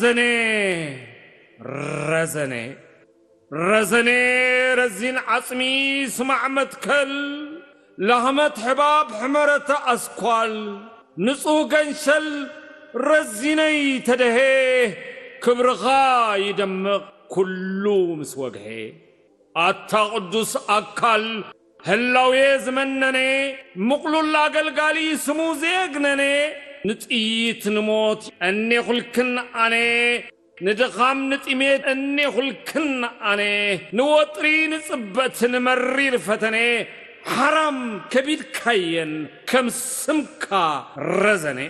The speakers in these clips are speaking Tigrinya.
ረዘኔ ረዘኔ ረዘኔ ረዚን ዓጽሚ ስማዕ መትከል ላህመት ሕባብ ሕመረተ ኣስኳል ንጹህ ገንሸል ረዚነይ ተደሄ ክብርኻ ይደምቕ ኩሉ ምስ ወግሔ። ኣታ ቅዱስ ኣካል ህላዌ ዝመነነ ምቕሉል ኣገልጋሊ ስሙ ዘየግነነ ንጥይት ንሞት እኔኹልክን ኣነ ንድኻም ንጥሜት እኔኹልክን ኣነ ንወጥሪ ንጽበት ንመሪር ፈተነ ሓራም ከቢድካየን ከም ስምካ ረዘነ።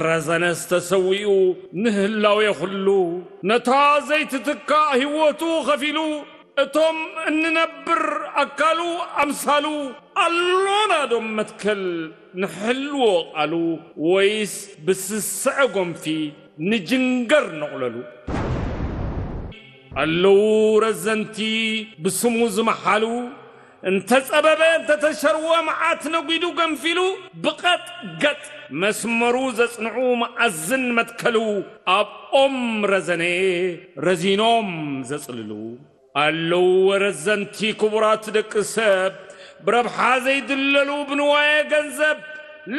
ረዘነስ ተሰዊኡ ንህላዌ ኩሉ ነታ ዘይትትካእ ህይወቱ ኸፊሉ እቶም እንነብር ኣካሉ ኣምሳሉ ኣሎና ዶም መትከል ንሕልዎ ቃሉ ወይስ ብስስዐ ጎንፊ ንጅንገር ነቑለሉ ኣለዉ ረዘንቲ ብስሙ ዝመሓሉ እንተጸበበ እንተተሸርወ መዓት ነጒዱ ገንፊሉ ብቐጥ ገጥ መስመሩ ዘጽንዑ መኣዝን መትከሉ ኣብ ኦም ረዘነ ረዚኖም ዘጽልሉ ኣለዉ ረዘንቲ ክቡራት ደቂ ሰብ ብረብሓ ዘይድለሉ ብንዋየ ገንዘብ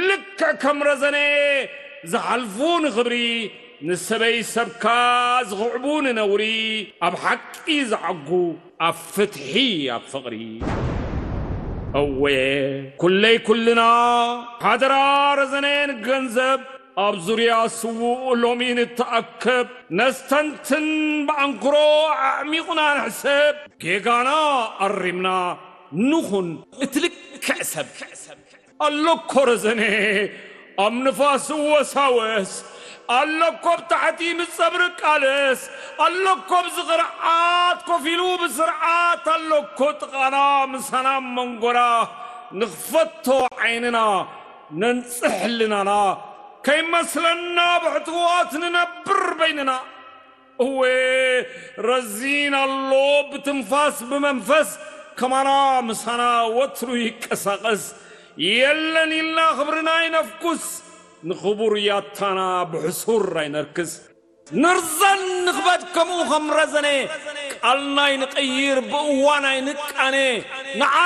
ልክዕ ከም ረዘነ ዝሓልፉ ንኽብሪ ንሰበይ ሰብካ ዝኽዕቡ ንነውሪ ኣብ ሓቂ ዝዓጉ ኣብ ፍትሒ ኣብ ፍቕሪ እወ ኩለይ ኩልና ሓደራ ረዘነ ንገንዘብ ኣብ ዙርያ ስዉእ ሎሚ ንተኣከብ ነስተንትን ብኣንክሮ ኣዕሚቑና ንሕሰብ ጌጋና ኣሪምና ንኹን እቲ ልክዕ ሰብ ኣሎኮ ረዘነ ኣብ ንፋስ እወሳወስ ኣሎኮ ብታሕቲ ምጸብሪ ቃለስ ኣሎኮ ብዝቕርዓት ኮፍ ኢሉ ብስርዓት ኣሎኮ ጥቓና ምሳና መንጎራ ንኽፈቶ ዓይንና ነንጽሕ ልናና ከይመስለና ብሕትዋት ንነብር በይንና እወ ረዚን ኣሎ ብትንፋስ ብመንፈስ ከማና ምሳና ወትሩ ይቀሳቐስ የለን ኢልና ክብርና ይነፍኩስ ንኽቡር ያታና ብሕሱር ኣይነርክስ ንርዘን ንኽበድ ከምኡ ከም ረዘነ ቃልና ይንቐይር ብእዋን ኣይንቃነ ንዓ